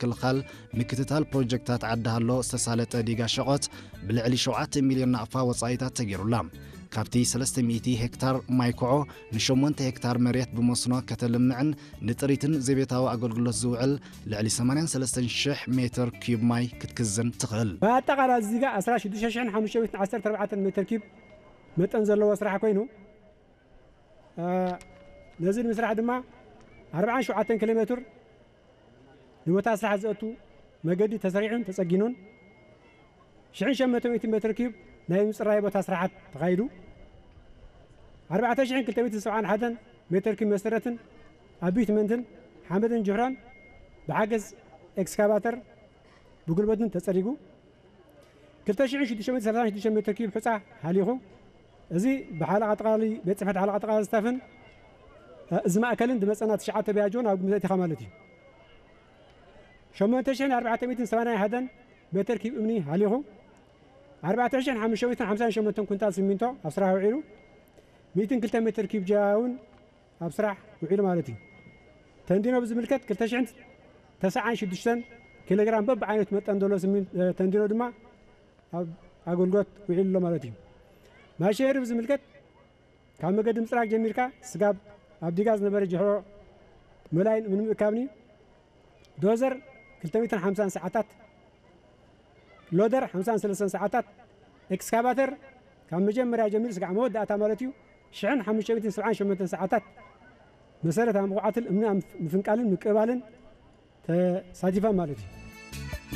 ምክልኻል ምክትታል ፕሮጀክታት ዓዲ ሃሎ ዝተሳለጠ ዲጋ ሸቖት ብልዕሊ ሸውዓተ ሚልዮን ናቕፋ ወጻኢታት ተገይሩላ። ካብቲ ሰለስተ ሚእቲ ሄክታር ማይ ኮዖ ንሸሞንተ ሄክታር መሬት ብመስኖ ከተልምዕን ንጥሪትን ዘቤታዊ ኣገልግሎት ዝውዕል ልዕሊ ሰማንያን ሰለስተን ሽሕ ሜትር ኪዩብ ማይ ክትክዝን ትኽእል። ብኣጠቓላሊ እዚጋ ዕስራ ሽዱሽተ ሽሕን ሓሙሽተ ሚእትን ዓሰርተ ኣርባዕተን ሜትር ኪዩብ መጠን ዘለዎ ስራሕ ኮይኑ፣ እ፣ ነዚ ንምስራሕ ድማ ኣርባዓን ሸውዓተን ኪሎ ሜትር ንቦታ ስራሕ ዘእቱ መገዲ ተሰሪዑን ተጸጊኑን፣ ሽሕን ሸሞንተ ሚእትን ሜትር ኪዩብ ናይ ምጽራይ ቦታ ስራሓት ተኻይዱ፣ ኣርባዕተ ሽሕን ክልተ ሚእትን ሰብዓን ሓደን ሜትር ኪዩብ መሰረትን ኣቢትመንትን ሓመድን ጅሕራን ብሓገዝ ኤክስካቫተር ብጉልበትን ተጸሪጉ፣ ክልተ ሽሕን ሽዱሽተ ሚእትን ሰላሳን ሽዱሽተ ሜትር ኪዩብ ሑጻ ሃሊኹ። እዚ ብሓለቓ ጠቕላሊ ቤት ጽሕፈት ሓለቓ ጠቕላሊ ስታፍን፣ እ፣ እዚ ማእከልን ዝመጸና ትሽዓተ ቢያጆን ኣብ ግምት ኣእቲኻ ማለት እዩ። ሸሞንተ ሽሕን ኣርባዕተ ሚእትን ሰማንያን ሓደን ሜትር ኪዩብ እምኒ ሃሊኹ። ኣርባዕተ ሽሕን ሓሙሽተ ሚእትን ሓምሳን ሸሞንተን ኩንታል ሲሚንቶ ኣብ ስራሕ ውዒሉ። ሚእትን ክልተ ሜትር ኪዩብ ጃያ እውን ኣብ ስራሕ ውዒሉ ማለት እዩ። ተንዲኖ ብዝምልከት ክልተ ሽሕን ተስዓን ሽዱሽተን ኪሎግራም በብዓይነቱ መጠን ዘሎ ሲሚን-፣ እ፣ ተንዲኖ ድማ ኣብ ኣገልግሎት ውዒሉ ኣሎ ማለት እዩ። ማሽነሪ ብዝምልከት ካብ መገዲ ምጽራግ ጀሚርካ ስጋብ ኣብ ዲጋ ዝነበረ ጅሕሮ መላይን ምንም እካብኒ ዶዘር ክልተ ሚእትን ሓምሳን ሰዓታት፣ ሎደር ሓምሳን ሰለስተን ሰዓታት፣ ኤክስካቫተር ካብ መጀመርያ ጀሚሩ ስጋዕ መወዳእታ ማለት እዩ ሽሕን ሓሙሽተ ሚእትን ሰብዓን ሸሞንተን ሰዓታት መሰረታዊ መኹዓትን እምኒ ኣብ ምፍንቃልን ምቅባልን ተሳቲፈን ማለት እዩ።